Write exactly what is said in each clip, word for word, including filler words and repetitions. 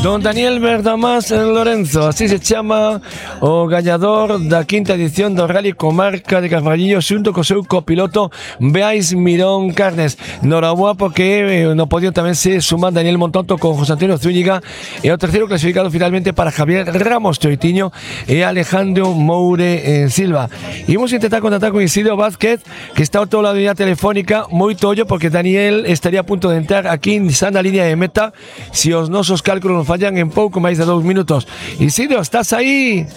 Don Daniel Verdamás Lorenzo, así se chama o gañador da quinta edición do Rally Comarca de Carballiño xunto co seu copiloto Beais Mirón Carnes. Noraboa porque eh, no podio tamén se suman Daniel Montonto con José Antonio Zúñiga e o terceiro clasificado finalmente para Javier Ramos Troitiño e Alejandro Moure eh, Silva. Imos intentar contactar con Isidro Vázquez, que está ao todo lado de la telefónica, moito ollo porque Daniel estaría a punto de entrar aquí en sana línea de meta se os nosos cálculos fallan en pouco máis de dous minutos. Isidro, estás aí?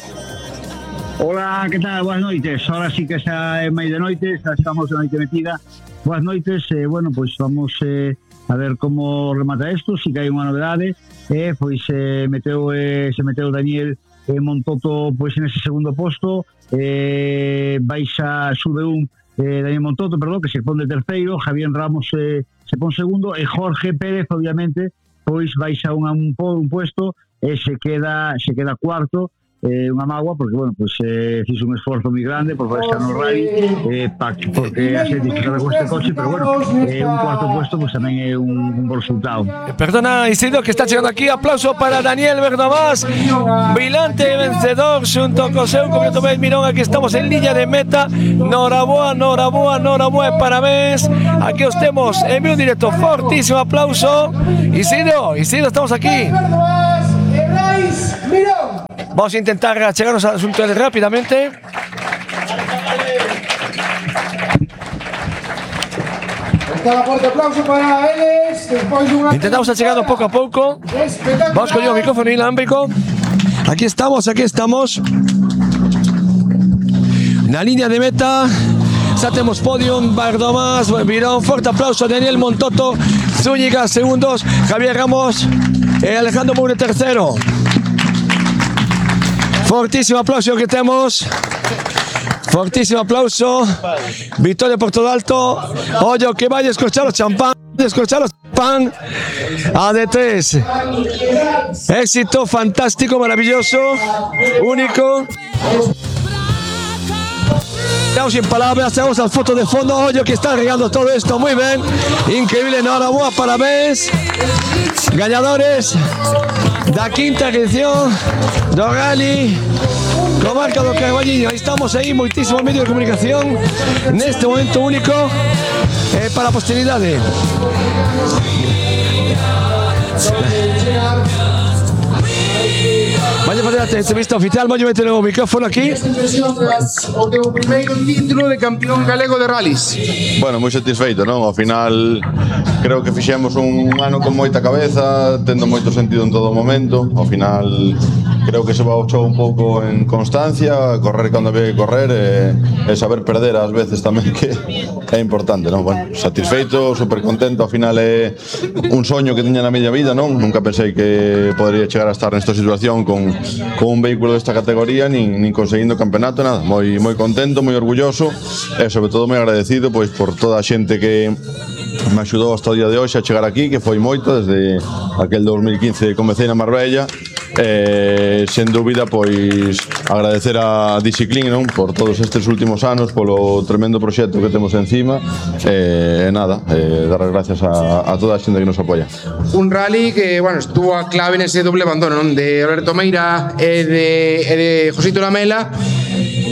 Hola, que tal? Boas noites. Ahora sí que xa é máis de noite, xa estamos de noite metida. Boas noites, eh, bueno, pois pues vamos eh, a ver como remata isto, si que hai unha novedade. Eh, pois eh, meteu, eh, se meteu Daniel eh, Montoto pois en ese segundo posto, eh, baixa sube un eh, Daniel Montoto, perdón, que se pon de terceiro, Javier Ramos eh, se pon segundo, e Jorge Pérez, obviamente, pois baixa un, un, un puesto e se queda se queda cuarto, eh, unha mágoa porque, bueno, pois eh, fixe un esforzo moi grande por poder estar no rally, eh, pa, porque a xente que con este coche, pero bueno, eh, un cuarto puesto pois tamén é un, un bo resultado. Perdona, Isidro, que está chegando aquí. Aplauso para Daniel Verdamás, vilante vencedor xunto co seu copiloto Beis Mirón. Aquí estamos en liña de meta. Noraboa, noraboa, noraboa, parabéns. Aquí os temos en vivo directo. Fortísimo aplauso. Isidro, Isidro, estamos aquí. Vamos a intentar chegarnos al asunto rápidamente. Intentamos a chegar poco a poco. Vamos con el micrófono inalámbrico. Aquí estamos, aquí estamos. Na línea de meta. Ya tenemos podium, Verdamás, Mirón. Fuerte aplauso a Daniel Montoto, Zúñiga segundos, Javier Ramos e Alejandro Moure tercero. Fortísimo aplauso que tenemos. Fortísimo aplauso. Victoria por todo alto. Oye, que vaya a escuchar los champán. Escuchar los champán. A D tres. Éxito fantástico, maravilloso, único. Estamos sin palabras, hacemos las fotos de fondo. Oye, que está regando todo esto. Muy bien. Increíble, enhorabuena, parabéns. Ganadores da quinta edición do Rally Comarca do Carballiño. Aí estamos aí, moitísimo medio de comunicación neste momento único eh, para a posteridade. Vaya a fazer a entrevista oficial, vaya a meter o micrófono aquí. O teu primeiro título de campeón galego de rallies. Bueno, moi satisfeito, non? Ao final creo que fixemos un ano con moita cabeza, tendo moito sentido en todo momento. Ao final creo que se baixou un pouco en constancia, correr cando había que correr e, e saber perder ás veces tamén, que é importante, non? Bueno, satisfeito, super contento. Ao final é un soño que tiña na miña vida, non? Nunca pensei que podría chegar a estar nesta situación con con un vehículo desta categoría, nin, nin conseguindo campeonato, nada. Moi moi contento, moi orgulloso e sobre todo moi agradecido pois por toda a xente que me axudou hasta o día de hoxe a chegar aquí, que foi moito desde aquel dos mil quince que comecei na Marbella. Eh, sen dúbida, pois agradecer a Dixiclin, non, por todos estes últimos anos, polo tremendo proxecto que temos encima, e eh, nada, eh, dar as gracias a, a toda a xente que nos apoia. Un rally que, bueno, estuvo a clave nese doble abandono, non, de Alberto Meira e de, e de Josito Lamela.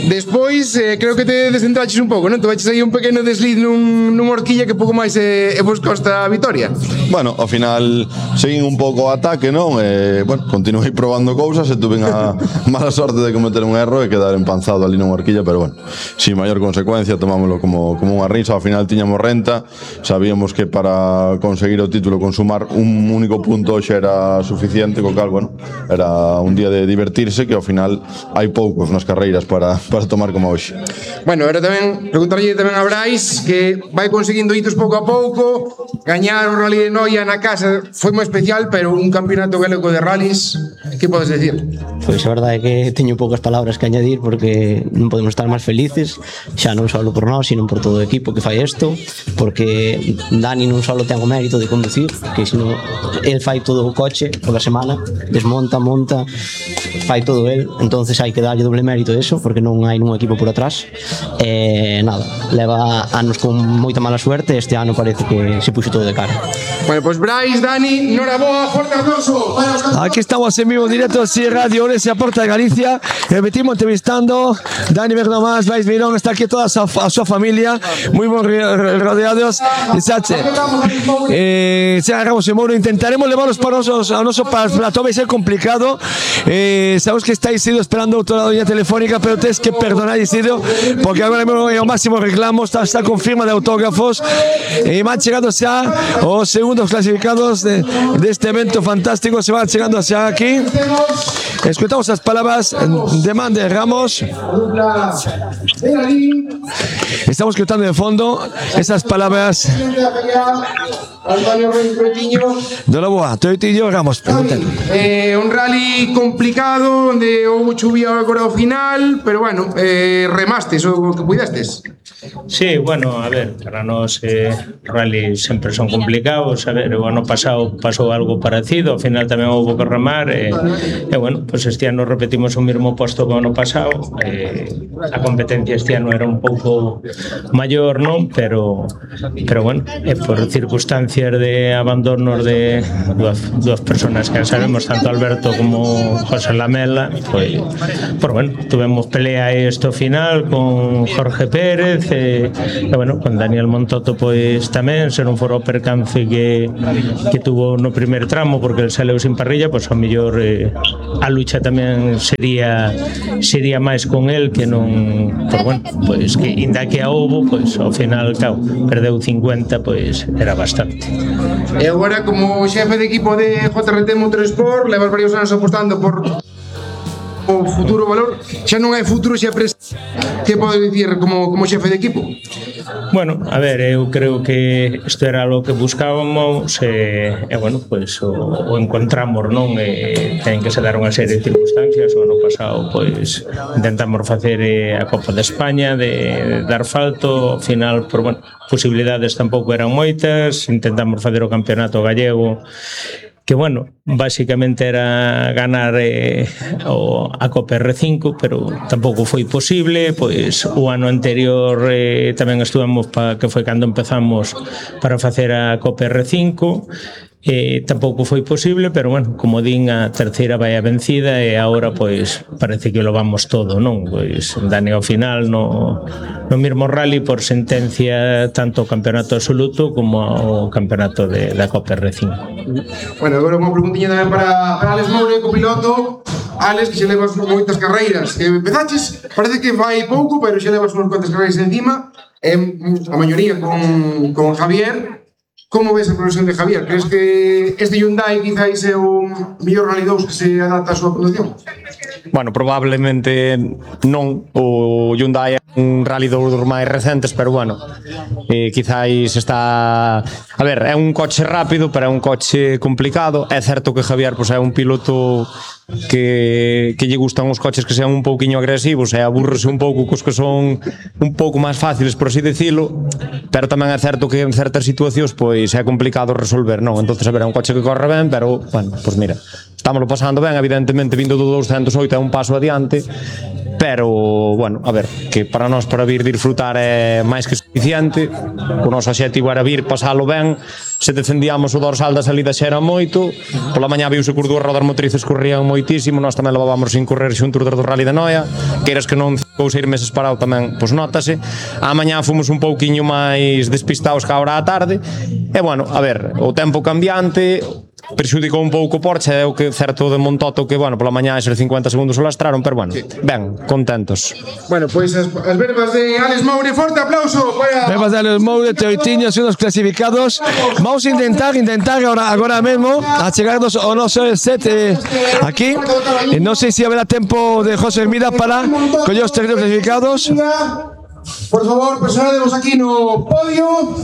Despois, eh, creo que te descentraches un pouco, non? Te baches aí un pequeno desliz nun, nun horquilla que pouco máis e, e vos costa a vitoria. Bueno, ao final seguín un pouco o ataque, non? E, bueno, continuei probando cousas e tuve a mala sorte de cometer un erro e quedar empanzado ali nunha horquilla, pero bueno, sin maior consecuencia, tomámoslo como, como unha risa. Ao final tiñamos renta, sabíamos que para conseguir o título con sumar un único punto hoxe era suficiente, co cal, bueno, era un día de divertirse, que ao final hai poucos nas carreiras para, para tomar como hoxe. Bueno, era tamén preguntarlle tamén a Brais, que vai conseguindo hitos pouco a pouco. Gañar o Rally de Noia na casa foi moi especial, pero un campeonato galego de rallies, que podes decir? Pois a verdade é que teño poucas palabras que añadir, porque non podemos estar máis felices, xa non só por nós, sino por todo o equipo que fai isto, porque Dani non só ten o mérito de conducir, que sino el fai todo o coche toda a semana, desmonta, monta, fai todo el, entonces hai que darlle doble mérito a eso, porque non non hai nun equipo por atrás. E nada, leva anos con moita mala suerte, este ano parece que se puxo todo de cara. Bueno, pois Brais, Dani, noraboa, forte aplauso. Aquí estamos en vivo en directo, sí, Radio Orense, a Porta de Galicia. Repetimos entrevistando Dani Bernomás, Brais Mirón, está aquí toda a súa familia, moi bon rodeados. Sache, eh, se agarramos en Mouro, intentaremos levarlos para nosos, a noso plató, vai ser complicado. Eh, sabemos que estáis ido esperando outra liña telefónica, pero tens que perdonar, Isidro, porque agora mesmo é o máximo reclamo, está, está con firma de autógrafos e van chegando xa os segundos clasificados de, deste evento fantástico, se van chegando xa aquí. Escuchamos as palabras de Man de Ramos. Estamos escuchando de fondo esas palabras de la boa, Toitillo Ramos. Eh, un rally complicado onde houve chuvia agora ao final, pero bueno, eh, remastes o que puidestes. Sí, bueno, a ver, para nós eh, rally sempre son complicados. A ver, o ano pasado pasou algo parecido, ao final tamén houve que remar e, e bueno, pues este ano repetimos o mesmo posto que o ano pasado. Eh, a competencia este ano era un pouco maior, non? Pero, pero bueno, eh, por circunstancias de abandonos de dúas, dúas personas que sabemos, tanto Alberto como José Lamela, pues, pues bueno, tuvemos pelea esto final con Jorge Pérez e, e bueno, con Daniel Montoto pois tamén, se non fora o percance que, que tuvo no primer tramo, porque el saleu sin parrilla, pois ao mellor eh, a lucha tamén sería sería máis con el que non, pues bueno, pois que inda que a houbo, pois ao final, claro, perdeu cincuenta, pois era bastante. E agora, como xefe de equipo de J R T Motorsport, levas varios anos apostando por o futuro valor, xa non hai futuro, xa pres... que podes dicir como, como xefe de equipo? Bueno, a ver, eu creo que isto era lo que buscábamos e, e bueno, pues, o, o encontramos, non? E ten que se dar unha serie de circunstancias. O ano pasado, pois, intentamos facer a Copa de España de, de dar asfalto, ao final, por, bueno, posibilidades tampouco eran moitas, intentamos facer o campeonato gallego, que bueno, básicamente era ganar eh, o, a Copa R cinco, pero tampouco foi posible. Pois o ano anterior eh, tamén estuvemos, pa, que foi cando empezamos para facer a Copa R cinco, eh, tampouco foi posible, pero bueno, como din, a terceira vai a vencida e agora pois parece que lo vamos todo, non? Pois Dani ao final no, no mesmo rally por sentencia tanto o campeonato absoluto como o campeonato de, da Copa R cinco. Bueno, agora unha preguntiña tamén para, para Alex Moure, copiloto. Alex, que xa levas moitas carreiras que empezaches, parece que vai pouco, pero xa levas unhas cuantas carreiras encima, eh, a maioría con, con Javier. Como ves a progresión de Javier? Crees que este Hyundai quizáis é o mellor Rally dous que se adapta á súa conducción? Bueno, probablemente non. O Hyundai é un Rally dous dos máis recentes, pero bueno, eh, quizáis está... A ver, é un coche rápido, pero é un coche complicado. É certo que Javier pois, é un piloto que, que lle gustan os coches que sean un pouquiño agresivos e aburrese un pouco cos que son un pouco máis fáciles, por así decirlo, pero tamén é certo que en certas situacións pois é complicado resolver, non? Entonces, a ver, é un coche que corre ben, pero, bueno, pois mira, estámoslo pasando ben, evidentemente vindo do doscientos oito é un paso adiante, pero, bueno, a ver, que para nós para vir disfrutar é máis que suficiente. O noso obxectivo era vir, pasalo ben. Se defendíamos o dorsal da salida xa era moito. Pola mañá viuse que as dúas rodas motrices corrían moitísimo, nós tamén levábamos sin correr xuntos do Rally de Noia, queiras que non cinco ou seis meses parado tamén, pois notase. A mañá fomos un pouquiño máis despistados que a hora da tarde. E, bueno, a ver, o tempo cambiante perxudicou un pouco o Porsche, é o que certo de Montoto que, bueno, pola mañá eses cincuenta segundos o lastraron, pero bueno, sí. Ben, contentos. Bueno, pois pues, as, as verbas de Alex Moure, forte aplauso para... Verbas de Alex Moure, Teoitiño, son os clasificados. Vamos a intentar, intentar agora, agora mesmo a chegarnos ao noso set eh, aquí. Eh, non sei se haberá tempo de José Hermida para coller os terrenos clasificados. Por favor, personademos aquí no podio.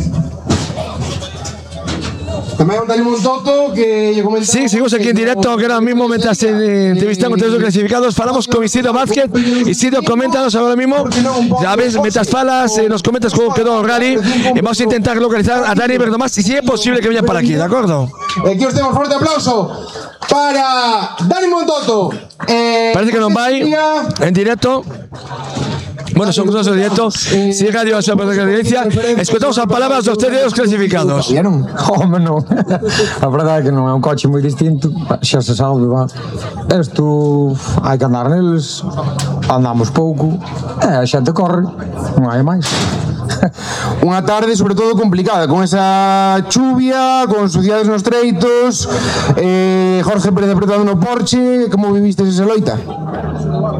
Tamén un Dani Montoto que lle comentamos. Sí, seguimos aquí en directo, que ahora mismo mientras eh, entrevistamos a todos los clasificados, falamos con Isidro Vázquez. Isidro, coméntanos ahora mismo, ya ves, mientras falas, eh, nos comentas cómo quedó el rally, y vamos a intentar localizar a Dani Verdomás, y si es posible que venga para aquí, ¿de acuerdo? Aquí os tenemos fuerte aplauso para Dani Montoto. Eh, Parece que non vai en directo. Bueno, son cosas en directo. Si Radio a súa presencia, escoitamos as palabras dos terceros clasificados. Vieron? Home, non. A verdade é que non é un coche moi distinto, xa se sabe, va. Isto hai que andar neles, andamos pouco, e a xente corre, non hai máis. Unha tarde sobre todo complicada, con esa chuvia, con suciedades nos treitos, eh, Jorge Pérez apretado no Porsche. Como viviste esa loita?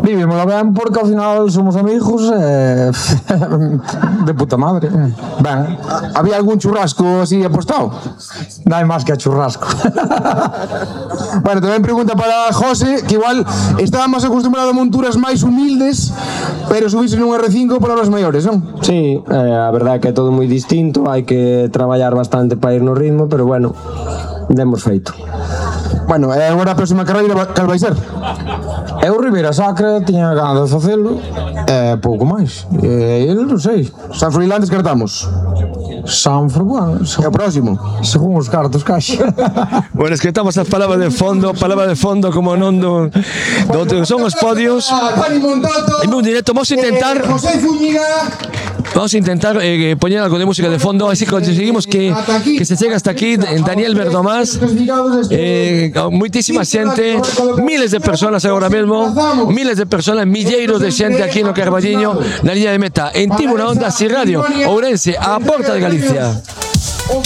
Vivimos ben porque ao final somos amigos e de puta madre. Ben, había algún churrasco así apostado? Non hai máis que a churrasco. Bueno, tamén pregunta para José, que igual estaba máis acostumbrado a monturas máis humildes, pero subirse nun R cinco para os maiores, non? Sí, eh, a verdade é que é todo moi distinto, hai que traballar bastante para ir no ritmo, pero bueno, demos feito. Bueno, e agora a próxima carreira cal vai ser? Eu Ribeira Sacra tiña ganas de facelo, e pouco máis. E ele non sei. San Froilán descartamos. Sanfra, bueno, é o próximo. Según os cartos caixa. Bueno, escoitamos as palabras de fondo, palabras de fondo como non do, do, do son os podios. En un directo vamos a intentar Vamos a intentar eh, poner algo de música de fondo, así conseguimos que, que se llegue hasta aquí. Daniel Verdomás, eh, muchísima xente, miles de personas ahora mismo, miles de personas, milleiros de xente aquí no Carballiño, na liña de meta, en Tibo na Onda, Si Radio, Ourense, a porta de Galicia.